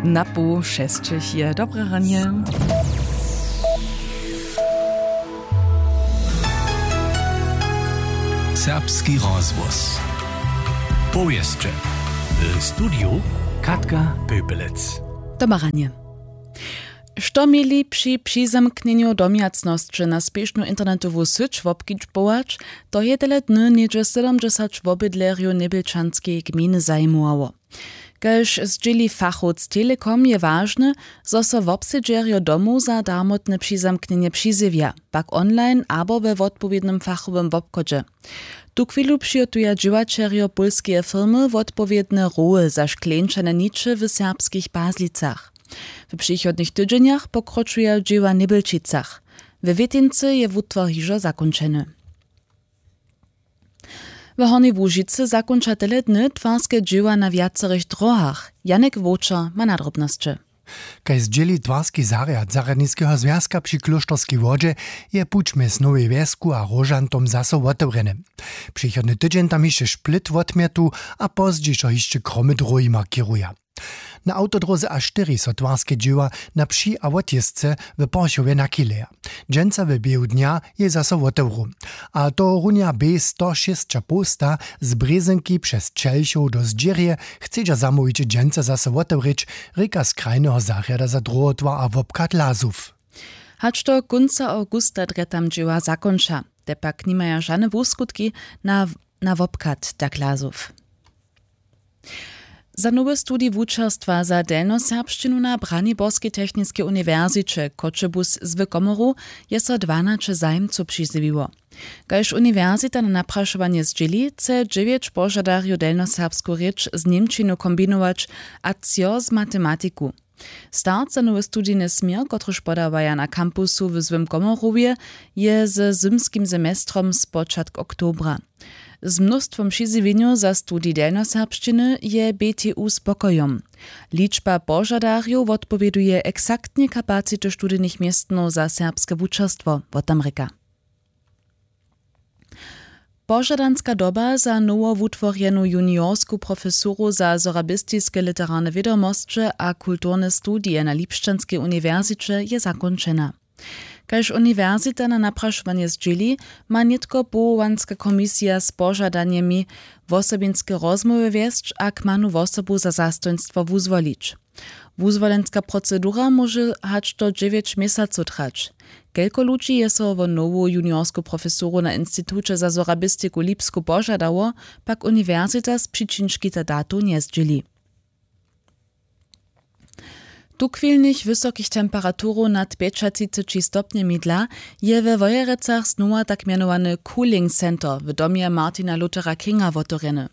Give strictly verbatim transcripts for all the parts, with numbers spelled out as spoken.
Na poł šesćich je dobre ranje. Serbski rozhłos. Powěsće. W studiju Katka Pepelec. Dobre ranje. Što měli při přizamknjenju domjacnosće na spěšnu internetowu syć wobkedźbować, to je tele dny něhdźe sydomdźesać wobydlerjow njebjelčanskeje gmejny zajimało. Kaž zdźěli fachowc Telekom, je wažne, zo so wobsedźerjo domow za darmotne přizamknjenje přizjewja, pak online abo we wotpowědnym fachowym wobchodźe. Tuchwilu přihotuja dźěłaćerjo pólskeje firmy wotpowědne roły za škleńčane niče w serbskich Pazlicach. W přichodnych tydźenjach pokročuja dźěła w Njebjelčicach. We Wětincy je wutwar hižo zakónčeny. W Hornjej Łužicy zakónča tele dny twarske dźěła na wjacorych dróhach. Janek Wowčer ma nadrobnosće. Kaž zdźěli twarski zarjad zarjadniskeho zwjazka při klóšterskej wodźe, je puć mjez Nowej Wjesku a Róžantom zaso wotewrjeny. Přichodny tydźeń tam hišće šplit wotmjetu a pozdźišo hišće kromy dróhi markěruja. Na awtodróze A štyri so twarske dźěła na při a wotjězce w Porchowje nachyleja. Dźensa w běhu dnja je zaso wotewru. A tohorunja B sto šěsć a połsta z Brězynki přez Čelchow do Zdźěrje chcedźa zamołwić dźensa zaso wotewrěć, rěka z krajneho zarjada za druhotwar a wobchad Lazow. Hač do kónca awgusta drje tam dźěła zakónča, te pak nimaja žane wuskutki na, na wobchad tak Lazow. Za nowy studij wučerstwa za delnjoserbšćinu na Braniborskej techniskej uniwersiće Choćebuz z Wykomoru je so dwanaće zajimcow přizjewiło. Kaž uniwersita na naprašowanje zdźěli, chce dźewjeć požadarjow delnjoserbsku rěč z němčinu kombinować a třo z matematiku. Start za nowy studijny směr, kotryž podawaja na kampusu w Złym Komorowje, je ze zymskim semestrom spočatk oktobra. Z mnóstwom přizjewjenjow za studij delnjoserbšćiny je B T U spokojom. Ličba požadarjow wotpowěduje eksaktnje kapacity studijnych městnow za serbske wučerstwo, wo tam rěka. Požadanska doba za nowowutworjenu juniorsku profesuru za sorabistiske literarne wědomosće a kulturne studije na Lipšćanskej uniwersiće je zakónčena. Kaž uniwersita na naprašowanje zdźěli, ma nětko powołanska komisija z požadanjemi wosobinske rozmołwy wjesć a kmanu wosobu za zastojnstwo wuzwolić. Wuzwolenska procedura móže hač do dźewjeć měsacow trać. Kelko ludźi je so wo nowu juniorsku profesuru na Instituće za sorabistiku Lipsku požadało, pak uniwersita z přičin škita datow njezdźěli. Tuchwilnych wysokich temperaturow nad pjećatřiceći stopnjemi dla je we Wojerecach znowa tak mjenowany Cooling Center w domje Martina Luthera Kinga wotewrjeny.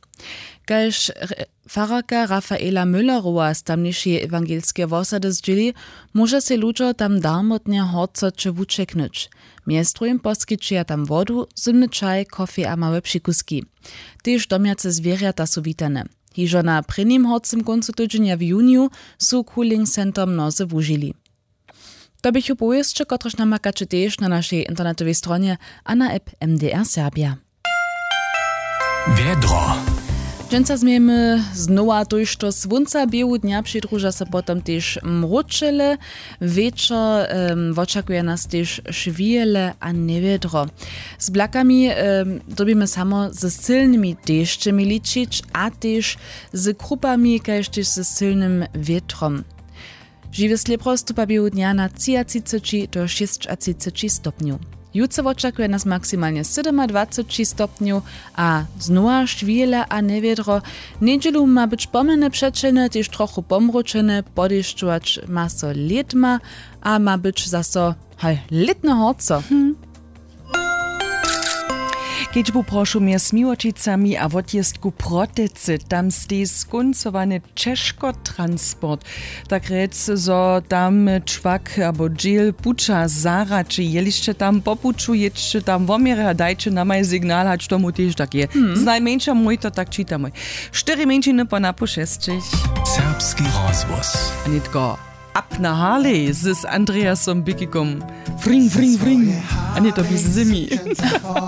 Kaž re-, fararka Rafaela Müllerowa z tamnišeje ewangelskeje wosady zdźěli, móža sej ludźo tam darmotnje horcoće wućeknyć. Mjez druhim poskićeja tam wodu, zymny čaj, kofej a małe přikuski. Tež domjace zwěrjata su witane. Hižo na prěnim horcym kóncu tydźenja w juniju su Cooling Center mnozy wužili. To běchu powěsće, kotrež namakaće tež na našej internetowej stronje a na app M D R Serbia. Wjedro. Dźensa změjemy znowa tójšto słónca, běhu dnja přidruža so potom tež mróčele. Wječor, em, wočakuje nas tež šwěle a njewjedro. Z blakami, em, dyrbimy samo ze sylnymi dešćemi ličić a tež z krupami, kaž tež ze sylnym wětrom. Žiwy slěpro stupa běhu dnja na třiatřiceći do šěsćatřiceći stopnjow. Jutře wočakuje nas maksimalnje sydomadwaceći stopnjow a znowa šwěle a njewjedro. Njedźelu ma być pomjene přećelne, tež trochu pomróčene, podešćować ma so lědma a ma być zaso, haj, lětne horco. Kedźbu prošu mjez Miłočicami a wotjězku Protecy, tam stej skóncowany ćežkotransport. Tak rjec, zo tam čłak abo dźěl puća zahraće. Jelišće tam po puću, jědźće tam woměrje a dajće namaj signal, hač tomu tež tak je. Znajmjeńša mój to tak čitamoj. Štyri mjeńšiny po napoł šesćich. Serbski rozhłos. A nětko Up na Harley z Andreasom Bikikom. Fring, fring, fring. A ně to běž zimi.